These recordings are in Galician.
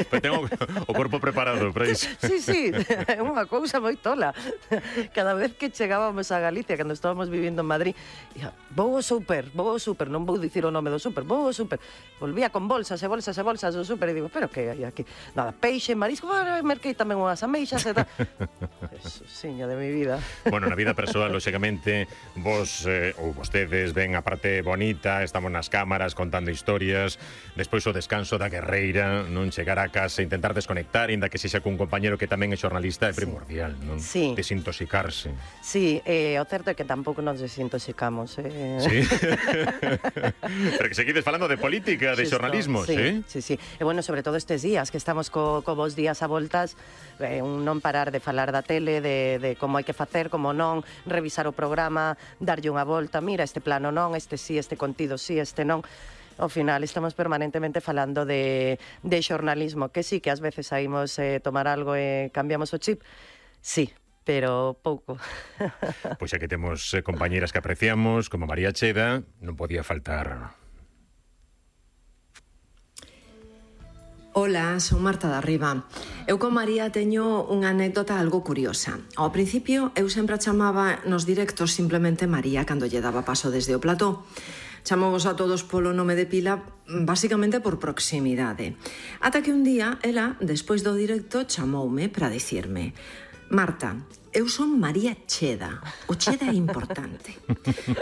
Pero tengo o corpo preparado para iso. Sí, é unha cousa moi tola. Cada vez que chegábamos a Galicia, cando estábamos vivindo en Madrid, ia, vou ao súper, non vou dicir o nome do súper, vou ao súper. Volvía con bolsas e bolsas e bolsas do súper e digo, pero que hai aquí? Nada, peixe, marisco, merquei tamén unhas ameixas e tal. Eso, siña de mi vida. Bueno, na vida persoal, lóxicamente, vos ou vostedes ven a parte bonita, estamos nas cámaras contando historias, despois o descanso da guerreira, non chegar a casa, intentar desconectar, inda que sexa cun compañero que tamén é xornalista, é primordial, non? Sí. Desintoxicarse. Sí, o certo é que tampouco nos desintoxicamos. Sí. Pero que seguides falando de política, de xornalismo, sí? Sí. E bueno, sobre todo estes días, que estamos co vos días a voltas, un non parar de falar da tele, de como hai que facer, como non, revisar o programa, darlle unha volta, mira, este plano non, este sí, este contido sí, este non. Ao final estamos permanentemente falando de xornalismo, que sí, que ás veces saímos tomar algo e cambiamos o chip, sí, pero pouco. Pois xa que temos compañeras que apreciamos, como María Cheda, non podía faltar. Ola, son Marta da Riba. Eu con María teño unha anécdota algo curiosa. Ao principio, eu sempre a chamaba nos directos simplemente María cando lle daba paso desde o plató. Chamamos a todos polo nome de pila, basicamente por proximidade. Ata que un día, ela, despois do directo, chamoume para dicirme: Marta, eu son María Cheda. O Cheda é importante.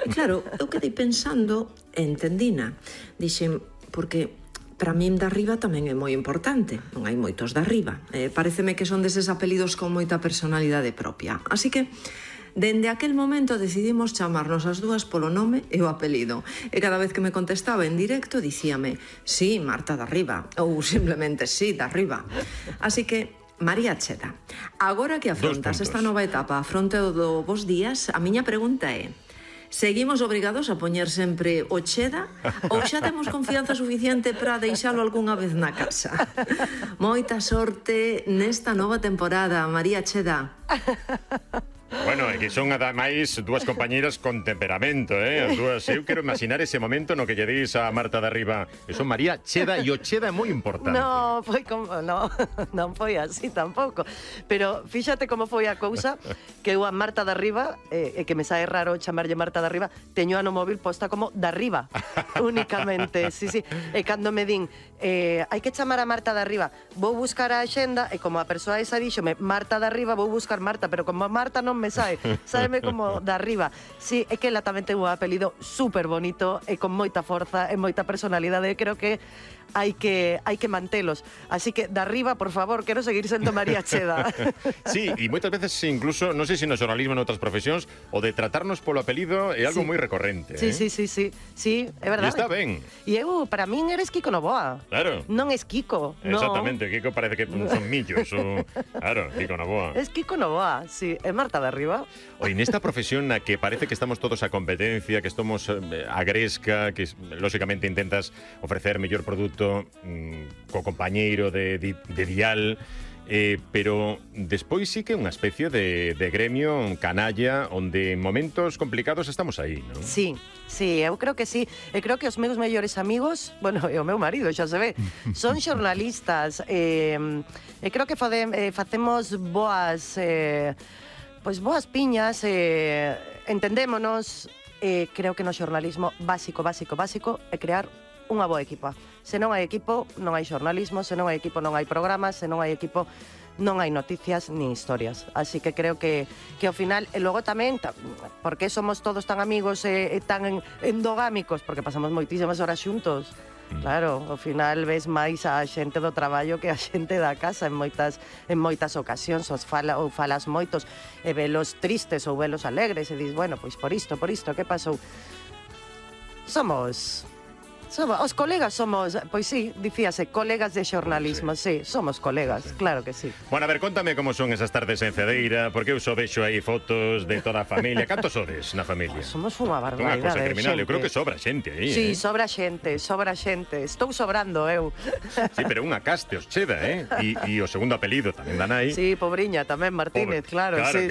E claro, eu quedei pensando, entendina. Dixen, porque para min da Riba tamén é moi importante. Non hai moitos da Riba. Pareceme que son deses apelidos con moita personalidade propia. Así que, dende aquel momento decidimos chamarnos as dúas polo nome e o apelido. E cada vez que me contestaba en directo dicíame, sí, Marta da Riba, ou simplemente sí, da Riba. Así que, María Cheda, agora que afrontas esta nova etapa a fronte do vos días, a miña pregunta é: seguimos obrigados a poñer sempre o Cheda ou xa temos confianza suficiente para deixalo algunha vez na casa? Moita sorte nesta nova temporada, María Cheda. Bueno, é que son ademais dúas compañeiras con temperamento, as dúas. Eu quero imaginar ese momento no que lle dis a Marta da Riba, que son María Cheda, e o Cheda é moi importante. No, foi como, non foi así tampouco. Pero fíxate como foi a cousa, que eu a Marta da Riba, que me sae raro chamarlle Marta da Riba, teño a no móvil posta como da Riba, únicamente. Sí. E cando me din, hai que chamar a Marta da Riba, vou buscar a axenda, e como a persoa esa díxome Marta da Riba, vou buscar Marta, pero como a Marta non me sae, sáeme como da Riba. Sí, é que ela tamén ten un apelido super bonito e con moita forza e moita personalidade. Creo que hai que mantelos. Así que da Riba, por favor, quero seguir sendo María Cheda. Sí, e moitas veces incluso, non sei se no xornalismo en outras profesións, o de tratarnos polo apelido é algo moi recorrente. Sí, é verdade. E está ben. E eu, para min, eres Kiko Novoa. Claro. Non es Kiko. Exactamente, Kiko parece que son millos. Claro, Kiko Novoa. Es Kiko Novoa, sí. É Marta da Riba. Oye, nesta profesión na que parece que estamos todos a competencia, que estamos a gresca, que lógicamente intentas ofrecer mellor produto co compañeiro de dial, pero despois sí que é unha especie de gremio canalla onde en momentos complicados estamos aí, non? Sí, eu creo que sí. E creo que os meus mellores amigos, bueno, e o meu marido, xa se ve, son xornalistas. E creo que facemos boas piñas, entendémonos. Creo que no xornalismo básico é crear unha boa equipa. Se non hai equipo, non hai xornalismo. Se non hai equipo, non hai programas. Se non hai equipo, non hai noticias nin historias. Así que creo que ao final, e logo tamén, porque somos todos tan amigos e tan endogámicos, porque pasamos moitísimas horas xuntos. Claro, ao final ves máis a xente do traballo que a xente da casa en moitas ocasións, ou falas moitos e velos tristes ou velos alegres e dis, bueno, pois por isto, que pasou? Os colegas somos, pois sí, dicíase, colegas de xornalismo, sí, somos colegas, claro que sí. Bueno, a ver, contame como son esas tardes en Cedeira, porque eu só vexo aí fotos de toda a familia. Cantos sodes na familia? Somos unha barbaridade. Unha cosa criminal, eu creo que sobra xente aí. Sí, sobra xente. Estou sobrando eu. Sí, pero unha caste, os Cheda, E o segundo apelido tamén da nai. Sí, pobriña, tamén Martínez, claro. Sí.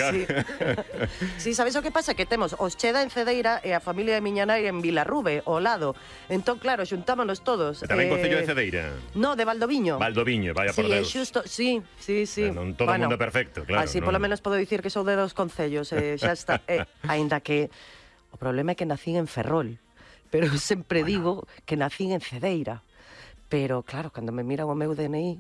Sí, sabes o que pasa? Que temos os Cheda en Cedeira e a familia de miña nai en Vilarrube, ao lado. Entón, claro, claro, xuntámonos todos. E tamén Concello de Cedeira? No, de Valdoviño. Valdoviño, vaya por Deus. Sí. Non todo o mundo perfecto, claro. Así, polo menos podo dicir que sou de 2 concellos, xa está. Aínda que o problema é que nacín en Ferrol, pero sempre digo que nacín en Cedeira. Pero, claro, cando me miran o meu DNI,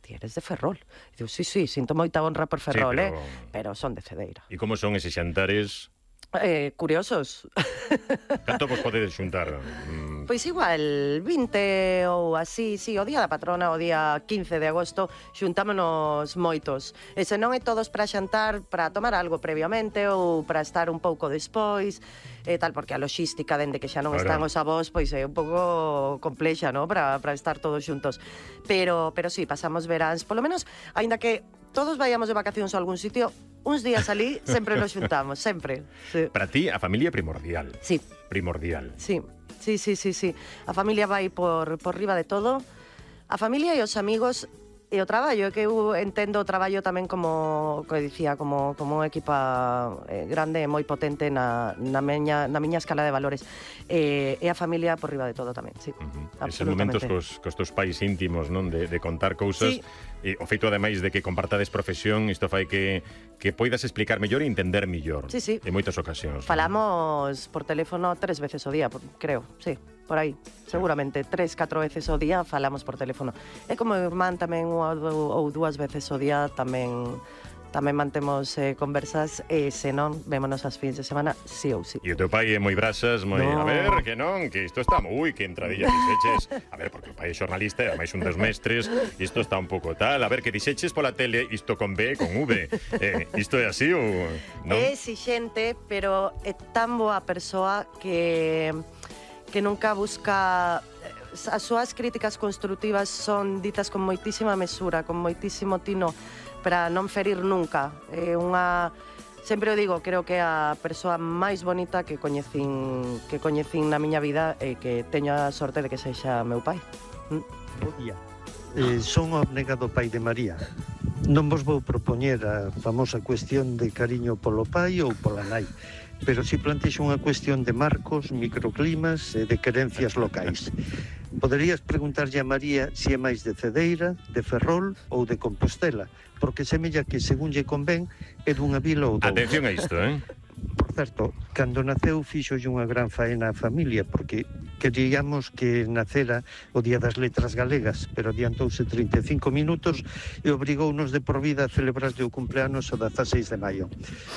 ti eres de Ferrol. E digo, sí, sinto moita honra por Ferrol, pero son de Cedeira. E como son eses xantares? Curiosos. Canto vos podedes xuntar? Pois igual, 20 ou así, sí, o día da patrona, o día 15 de agosto, xuntámonos moitos. E se non é todos para xantar, para tomar algo previamente ou para estar un pouco despois, e tal, porque a logística, dende que xa non están os avós, pois é un pouco complexa, ¿no? Para estar todos xuntos. Pero sí, pasamos veráns, polo menos, aínda que todos vayamos de vacacións a algún sitio, uns días alí sempre nos xuntamos, sempre. Sí. Para ti, a familia é primordial. Sí. Primordial. Sí. A familia vai por riba de todo. A familia e os amigos e o traballo, que eu entendo o traballo tamén como dicía, como unha equipa grande e moi potente na miña escala de valores. E a familia por riba de todo tamén, sí. Eses momentos cos teus pais íntimos, non? De contar cousas. E o feito, ademais, de que compartades profesión, isto fai que poidas explicar mellor e entender mellor. Sí. En moitas ocasións. Falamos por teléfono 3 veces ao día, creo, sí. Por aí, seguramente 3-4 veces ao día falamos por teléfono. E como irmán tamén unha ou 2 veces ao día tamén mantemos conversas e se non, vémonos as fins de semana sí ou sí. E o teu pai é moi brasas, moi, a ver, que non, que isto está, que entradilla dixeches, a ver, porque o pai é xornalista e ademais un dos mestres, isto está un pouco tal, a ver, que dixeches pola tele isto con B, con V, isto é así ou non? É exixente, pero é tan boa persoa que nunca busca... As súas críticas construtivas son ditas con moitísima mesura, con moitísimo tino, para non ferir nunca. É unha... Sempre o digo, creo que é a persoa máis bonita que coñecín na miña vida e que teño a sorte de que sexa meu pai. Son o abnegado pai de María. Non vos vou propoñer a famosa cuestión de cariño polo pai ou pola nai, pero si plantexo unha cuestión de marcos, microclimas e de querencias locais. Poderías preguntarlle a María se é máis de Cedeira, de Ferrol ou de Compostela, porque semella que, según lle convén, é dunha vila ou doutra. Atención a isto, Por certo, cando naceu fixolle unha gran faena á familia, porque queríamos que nacera o Día das Letras Galegas, pero adiantouse 35 minutos e obrigounos de por vida a celebrarlle o cumpleanos o 16 de maio.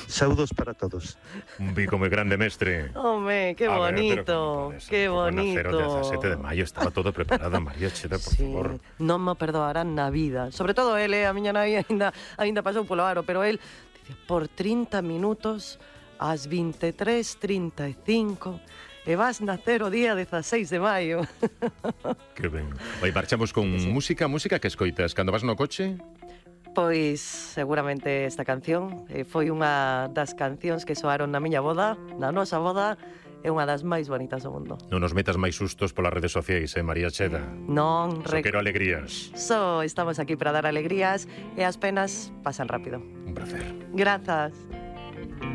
Saúdos para todos. Un bico moi grande, mestre. Home, que bonito, que bonito. O 17 de maio estaba todo preparado, María Cheda, por favor. Non me perdoarán na vida. Sobre todo ele, a miña nai ainda pasou polo aro, pero el dicía, por 30 minutos ás 23:35 e vas nacer o día 16 de maio. Que ben. Vai, marchamos con música que escoitas cando vas no coche? Pois seguramente esta canción foi unha das cancións que soaron na miña boda, na nosa boda, é unha das máis bonitas do mundo. Non nos metas máis sustos polas redes sociais, María Cheda? Non. Só quero alegrías. Estamos aquí para dar alegrías e as penas pasan rápido. Un placer. Grazas.